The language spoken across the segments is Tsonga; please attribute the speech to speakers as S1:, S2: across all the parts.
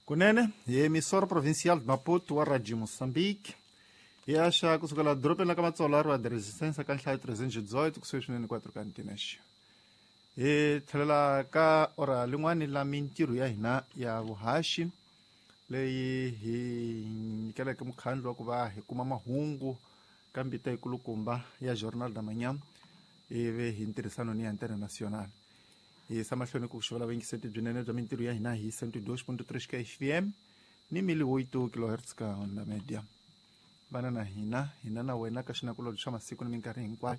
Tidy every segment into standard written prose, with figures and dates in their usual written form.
S1: Kunene hi emissora provincial de Maputo wa Radio Moçambique hi axa kusukela dorobeni la ka Matsolo a ri wa de Resistência ka nhlayo 318 kusuhi swinene 4 ka ntinex. Hi tlhelela ka ora lin'wani la mintirho ya hina ya vuhaxi leyi hi nyikeleke mukhandlu wa ku va hi kuma mahungu ka mbita yikulukumba ya Jornal da Manhã ivi hi ntirhisano ni ya Internacional. Hi yisa mahlweni ku xivela vuyingiseti byinene bya mintirho ya hina hi 102.3 ka FM ni 1008 kilohertz ka Onda Media. Vana na hina, hina na wena ka xinakulobye xa masiku ni minkarhi hinkwayo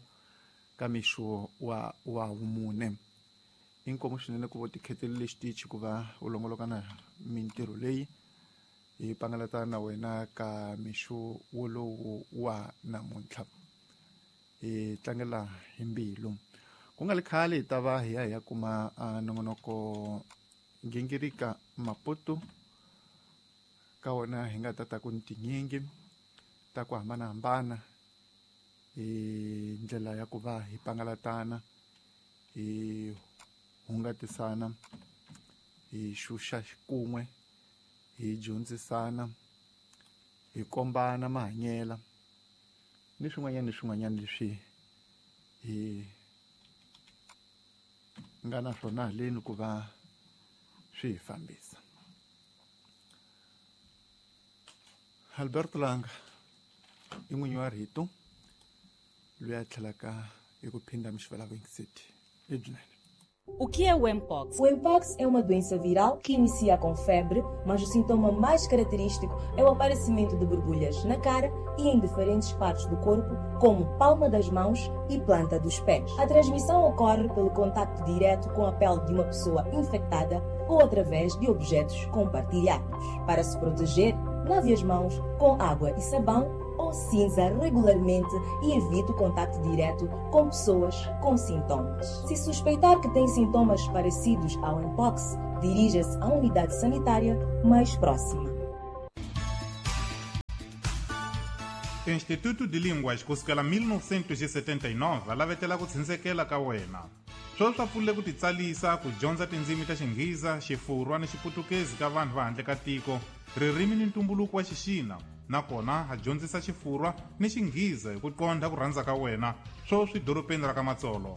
S1: ka mixo wa wa vumune. Inkomu swinene ku vo tikhetelile xitichi ku va u longoloka na mintirho leyi hi pangalata na wena ka mixo wolowo wa namuntlha. Hi tlangela hi mbilu. Ku nga li khale hi ta va hi ya hi ya kuma nongonoko Gingirika Maputo ka wona hi nga ta ta ku ni tinyingi ta ku hambanahambana hi ndlela ya ku va hi pangalatana, hi hungatisana, hi xuxa xikun'we, hi dyondzisana, hi kombana mahanyela ni swin'wanyana ni swin'wanyana leswi hi nga na swona haleni ku va swi hi fambisa. Alberto Langa i n'winyi wa rito loyi a tlhelaka hi ku phinda mixivela vuyingiseti lebyinene.
S2: O que é o Mpox?
S3: O Mpox é uma doença viral que inicia com febre, mas o sintoma mais característico é o aparecimento de borbulhas na cara e em diferentes partes do corpo, como palma das mãos e planta dos pés. A transmissão ocorre pelo contacto direto com a pele de uma pessoa infectada ou através de objetos compartilhados. Para se proteger, lave as mãos com água e sabão ou cinza regularmente e evite o contato direto com pessoas com sintomas. Se suspeitar que tem sintomas parecidos ao Mpox, dirija-se à unidade sanitária mais próxima.
S4: Instituto de Línguas kusukela 1979 alavetela ku tshindzekela ka wena. Sweswi swa pfulile ku titsalisa ku dyondza tindzimi ta Xinghiza, Xifurwa ni Xiputukezi ka vanhu va handle ka tiko, ririmi ni ntumbuluko wa Xixina, nakona ha dyondzisa Xifurwa ni Xinghiza hi ku qondha ku rhandza ka wena, sweswi dorobeni ra ka Matsolo.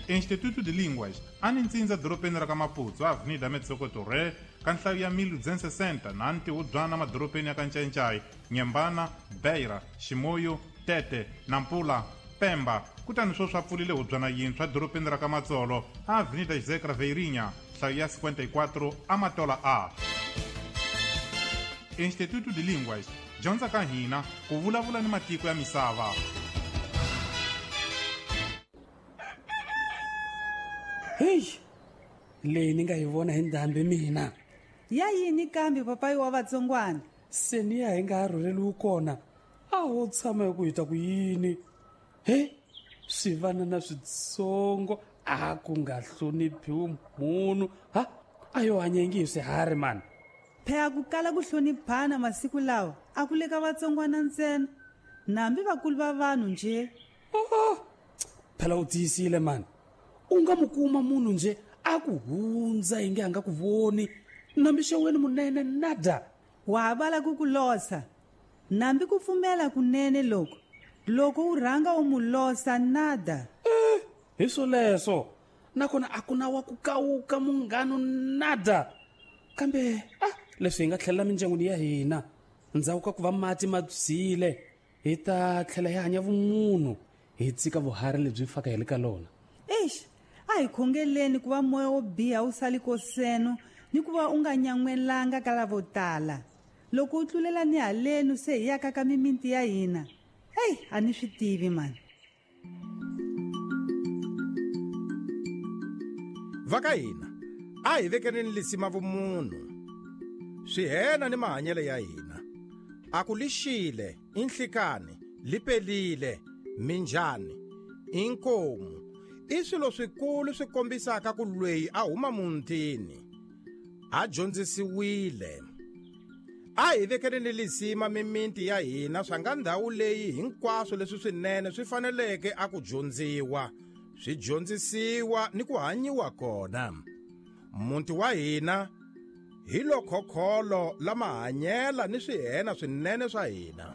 S4: Instituto de Línguas a ni ntsindza dorobeni ra ka Maputo, Avenida Metsoko Torre, ka nhlayo ya 1260 na ntihubyana madorobeni ya ka Ncayincai, Nyembana, Beira, Chimoio, Tete, Nampula, Pemba, kutani sweswi a pfulile hubyana yintshwa dorobeni ra ka Matsolo, Avenida José Craveirinha, nhlayo ya 54, Amatola A. Instituto de Línguas, dyondza ka hina ku vulavula ni matiko ya misava.
S5: Heyi, leyi ni nga yi vona hi ndhambi mina.
S6: Ya yini kambe papayi wa vatsongwana?
S5: Se ni ya hi nga ha rhurheliwi kona, a ho tshama hi ku hi ta ku yini. He, swi vana na switsongo a ku nga hloniphiwi munhu. Ha, a yo hanya ingi hi swiharhi mani.
S6: Phela ku kala ku hloniphana masiku lawa a ku le ka vatsongwana ntsena, nambi vakulu va vanhu nje.
S5: Oh, phela u tiyisile mani. U nga mu kuma munhu nje a ku hundza inge a nga ku voni, nambi xeweni munene nada.
S6: Wa ha vala ku ku losa, nambi ku pfumela kunene loko loko u rhanga u mu losa nada.
S5: Hi swoleswo, nakona a ku na wa ku kawuka munghano nada. Kambe a leswi hi nga tlhelela mindyangwini ya hina ndzhaku ka ku va mati ma byile, hi ta tlhela hi hanya vumunhu, hi tshika vuharhi lebyi faka hi le ka lona.
S6: Eish, a hi khongeleni ku va moya wo biha wu sali koseno ni ku va u nga nyan'welanga ka lavo tala. Loko u tlulela ni halenu se hi yaka ka mimiti ya hina. Hey, a ni swi tivi mani.
S7: Va ka hina a hi vekeleni lisima vumunhu, swihena ni mahanyelo ya hina. A ku lixile, i nhlikani, li pelile, minjhani, i nkomu, i swilo swikulu swi kombisaka ku lweyi a huma muntini, a dyondzisiwile. A hi vekeleni lisima mimiti ya hina swa nga ndhawu leyi hinkwaswo leswi swinene swi faneleke a ku dyondziwa, swi dyondzisiwa ni ku hanyiwa kona. Muti wa hina hi lo khokholo la mahanyela ni swihena swinene swa hina.